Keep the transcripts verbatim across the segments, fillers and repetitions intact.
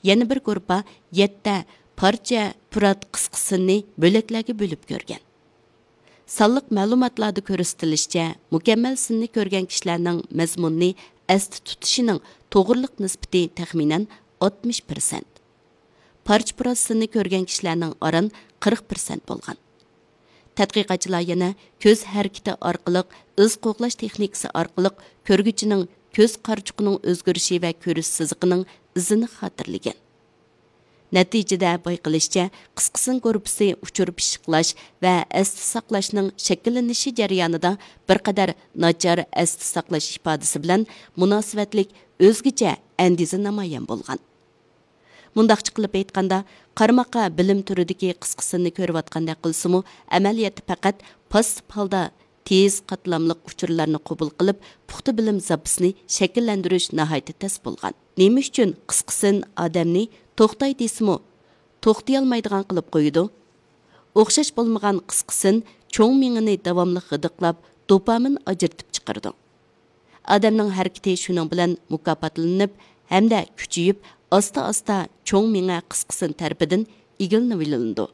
يەنە بىر گۇرۇپپا يەتتە پارچە پۇرات قىسقا سىننى بۆلەكلەرگە بۆلۈپ كۆرگەن. سانلىق مەلۇماتلاردا كۆرسىتىلىشىچە، مۇكەممەل سىننى كۆرگەن كىشىلەرنىڭ مەزمۇننى ئەستە تۇتۇشىنىڭ توغرىلىق نىسبىتى تەخمىنەن ئاتمىش پىرسەنت. پارچە پۇرات سىننى كۆرگەن كىشىلەرنىڭ ئاران قىرىق پىرسەنت بولغان. تەتقىقاتچىلار يەنە كۆز ھەرىكىتى ئارقىلىق، ئىز قوغلاش تېخنىكىسى ئارقىلىق كۆرگۈچىنىڭ كۆز قارىچۇقىنىڭ ئۆزگىرىشى ۋە كۆرۈش سىزىقىنىڭ ئىزىنى خاتىرىلىگەن. نەتىجىدە بايقىلىشىچە، قىسقا سىن گۇرۇپپىسى ئۇچۇر پىششىقلاش ۋە ئەستە ساقلاشنىڭ شەكىللىنىشى جەريانىدا بىر قەدەر ناچار ئەستە ساقلاش ئىپادىسى بىلەن مۇناسىۋەتلىك ئۆزگىچە ئەندىزە نامايان بولغان. مۇنداقچە قىلىپ ئېيتقاندا، قارىماققا بىلىم تۈرىدىكى قىسقا سىننى كۆرۈۋاتقاندەك قىلسىمۇ، ئەمەلىيەتتە پەقەت پاسسىپ ھالدا تېز قاتلاملىق ئۇچۇرلارنى قوبۇل قىلىپ، پۇختا بىلىم زاپىسىنى شەكىللەندۈرۈش ناھايىتى تەس بولغان. نېمە ئۈچۈن قىسقا سىن ئادەمنى توختاي دېسىمۇ، توختىيالمايدىغان قىلىپ قويىدۇ؟ ئوخشاش بولمىغان قىسقا سىن چوڭ مېڭىنى داۋاملىق غىدىقلاپ، دوپامىن ئاجرىتىپ چىقىرىدۇ. ئادەمنىڭ ھەرىكىتى شۇنىڭ بىلەن مۇكاپاتلىنىپ ھەمدە كۈچىيىپ، ئاستا-ئاستا چوڭ مېڭە قىسقا سىن تەرىپىدىن ئىگىلىنىۋېلىنىدۇ.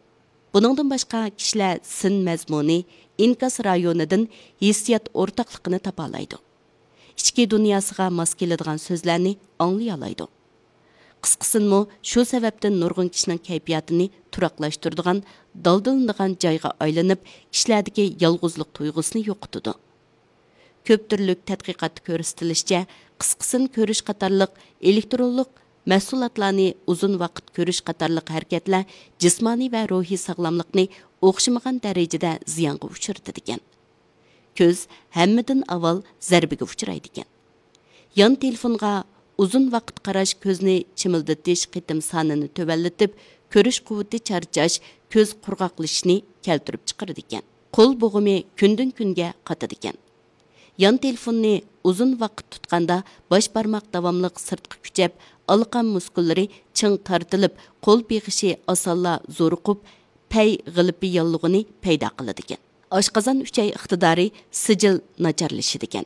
بۇنىڭدىن باشقا، كىشىلەر سىن مەزمۇنى، ئىنكاس رايونىدىن ھېسسىيات ئورتاقلىقىنى تاپالايدۇ. ئىچكى دۇنياسىغا ماس كېلىدىغان سۆزلەرنى ئاڭلىيالايدۇ. قىسقا سىنمۇ شۇ سەۋەبتىن نۇرغۇن كىشىنىڭ كەيپىياتىنى تۇراقلاشتۇرىدىغان، دالدىلىنىدىغان جايغا ئايلىنىپ، كىشىلەردىكى يالغۇزلۇق تۇيغۇسىنى يوقىتىدۇ. كۆپ تۈرلۈك تەتقىقاتتا كۆرسىتىلىشىچە، قىسقا سىن كۆرۈش قاتارلىق ئېلېكترونلۇق مەھسۇلاتلارنى ئۇزۇن ۋاقىت كۆرۈش قاتارلىق ھەرىكەتلەر جىسمانىي ۋە روھىي ساغلاملىقنى ئوخشىمىغان دەرىجىدە زىيانغا ئۇچرىتىدىكەن. كۆز ھەممىدىن ئاۋۋال زەربىگە ئۇچرايدىكەن. يان تېلېفونغا ئۇزۇن ۋاقىت قاراش كۆزنى چىمىلدىتىش قېتىم سانىنى تۆۋەنلىتىپ، كۆرۈش قۇۋۋىتى چارچاش، كۆز قۇرغاقلىشىشنى كەلتۈرۈپ چىقىرىدىكەن. قول بوغۇمى كۈندىن-كۈنگە قاتىدىكەن. يان تېلېفوننى ئۇزۇن ۋاقىت تۇتقاندا باش بارماق داۋاملىق سىرتقا كۈچەپ، ئالىقان مۇسكۇللىرى چىڭ تارتىلىپ، قول بېغىشى ئاسانلا زورۇقۇپ، پەي غىلىپى ياللۇغىنى پەيدا قىلىدىكەن. ئاشقازان ئۈچەي ئىقتىدارى سىجىل ناچارلىشىدىكەن.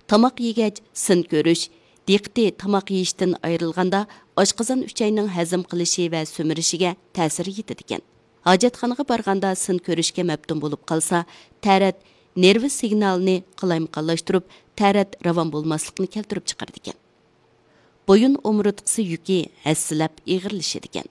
تاماق يېگەچ سىن كۆرۈش، دىققىتى تاماق يېيىشتىن ئايرىلغاندا، ئاشقازان ئۈچەينىڭ ھەزىم قىلىشى ۋە سۈمۈرۈشىگە تەسىر يېتىدىكەن. ھاجەتخانىغا بارغاندا سىن كۆرۈشكە مەپتۇن بولۇپ قالسا، تەرەت نېرۋا سىگنالىنى قالايمىقانلاشتۇرۇپ، تەرەت راۋان بولماسلىقنى كەلتۈرۈپ چىقىرىدىكەن. بويۇن ئومۇرتقىسى يۈكى ھەسسىلەپ ئېغىرلىشىدىكەن.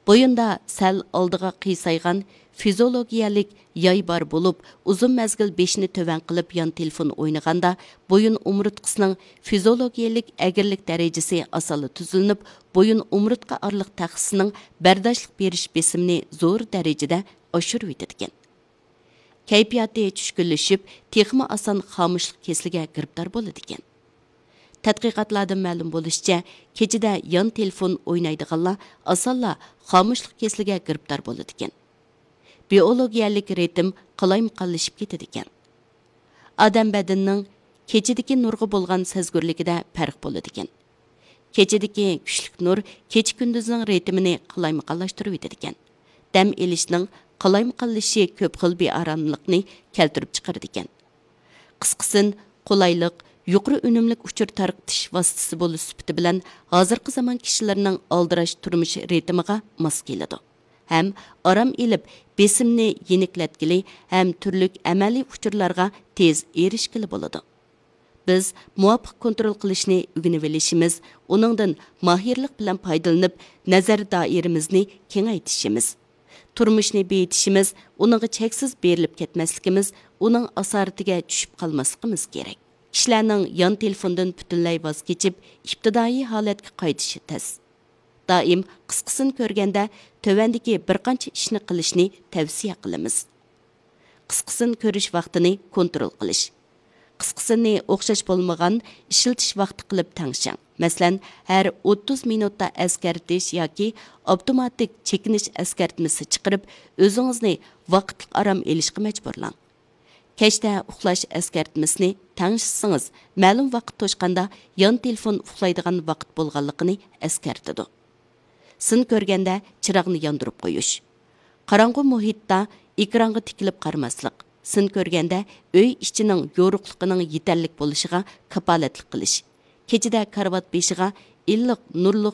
بويۇندا سەل ئالدىغا قىيسايغان فىزىئولوگىيەلىك ياي بار بولۇپ، ئۇزۇن مەزگىل بېشىنى تۆۋەن قىلىپ يان تېلېفون ئوينىغاندا، بويۇن ئومۇرتقىسىنىڭ فىزىئولوگىيەلىك ئەگرىلىك دەرىجىسى ئاسانلا تۈزۈلۈنۈپ، بويۇن ئومۇرتقا ئارىلىق تەخسىسىنىڭ بەرداشلىق بېرىش بېسىمىنى زور دەرىجىدە ئاشۇرۇۋېتىدىكەن. كەيپىياتى چۈشكۈنلىشىپ، تېخىمۇ ئاسان خامۇشلۇق كېسىلىگە گىرىپتار بولىدىكەن. تەتقىقاتلاردىن مەلۇم بولۇشىچە، كېچىدە يان تېلېفون ئوينايدىغانلار ئاسانلا خامۇشلۇق كېسىلىگە گىرىپتار بولىدىكەن. بىئولوگىيەلىك رىتىم قالايمىقانلىشىپ كېتىدىكەن. ئادەم بەدىنىنىڭ كېچىدىكى نۇرغا بولغان سەزگۈرلۈكىدە پەرق بولىدىكەن. كېچىدىكى كۈچلۈك نۇر كېچە-كۈندۈزنىڭ رىتىمىنى قالايمىقانلاشتۇرۇۋېتىدىكەن. دەم ئېلىشنىڭ قالايمىقانلىشىشى كۆپ خىل بىئاراملىقنى كەلتۈرۈپ چىقىرىدىكەن. قىسقىسىن، قولايلىق، يۇقىرى ئۈنۈملۈك ئۇچۇر تارقىتىش ۋاسىتىسى بولۇش سۈپىتى بىلەن ھازىرقى زامان كىشىلىرىنىڭ ئالدىراش تۇرمۇش رىتىمىغا ماس كېلىدۇ ھەم ئارام ئېلىپ، بېسىمنى يېنىكلەتكىلى ھەم تۈرلۈك ئەمەلىي ئۇچۇرلارغا تېز ئېرىشكىلى بولىدۇ. بىز مۇۋاپىق كونترول قىلىشنى ئۆگىنىۋېلىشىمىز، ئۇنىڭدىن ماھىرلىق بىلەن پايدىلىنىپ، نەزەر دائىرىمىزنى كېڭەيتىشىمىز، تۇرمۇشنى بېيىتىشىمىز، ئۇنىڭغا چەكسىز بېرىلىپ كەتمەسلىكىمىز، ئۇنىڭ ئاسارىتىگە چۈشۈپ قالماسلىقىمىز كېرەك. كىشىلەرنىڭ يان تېلېفوندىن پۈتۈنلەي ۋاز كېچىپ، ئىپتىدائىي ھالەتكە قايتىشى تەس. دائىم قىسقىسىنى كۆرگەندە، تۆۋەندىكى بىر قانچە ئىشنى قىلىشنى تەۋسىيە قىلىمىز. قىسقىسىنى كۆرۈش ۋاقتىنى كونترول قىلىش. قىسقىسىنى ئوخشاش بولمىغان ئىشلىتىش ۋاقتى قىلىپ تەڭشەڭ. مەسىلەن، ھەر ئوتتۇز مىنۇتتا ئەسكەرتىش ياكى ئاپتوماتىك چېكىنىش ئەسكەرتمىسى چىقىرىپ، ئۆزىڭىزنى ۋاقىتلىق ئارام ئېلىشقا مەجبۇرلاڭ. كەچتە ئۇخلاش ئەسكەرتمىسىنى تەڭشىسىڭىز، مەلۇم ۋاقىت توشقاندا يان تېلېفون ئۇخلايدىغان ۋاقىت بولغانلىقىنى ئەسكەرتىدۇ. سىن كۆرگەندە چىراغنى ياندۇرۇپ قويۇش. قاراڭغۇ مۇھىتتا ئېكرانغا تىكىلىپ قارىماسلىق. سىن كۆرگەندە ئۆي ئىچىنىڭ يورۇقلۇقىنىڭ يېتەرلىك بولۇشىغا كاپالەتلىك قىلىش. كېچىدە كارىۋات بېشىغا ئىللىق نۇرلۇق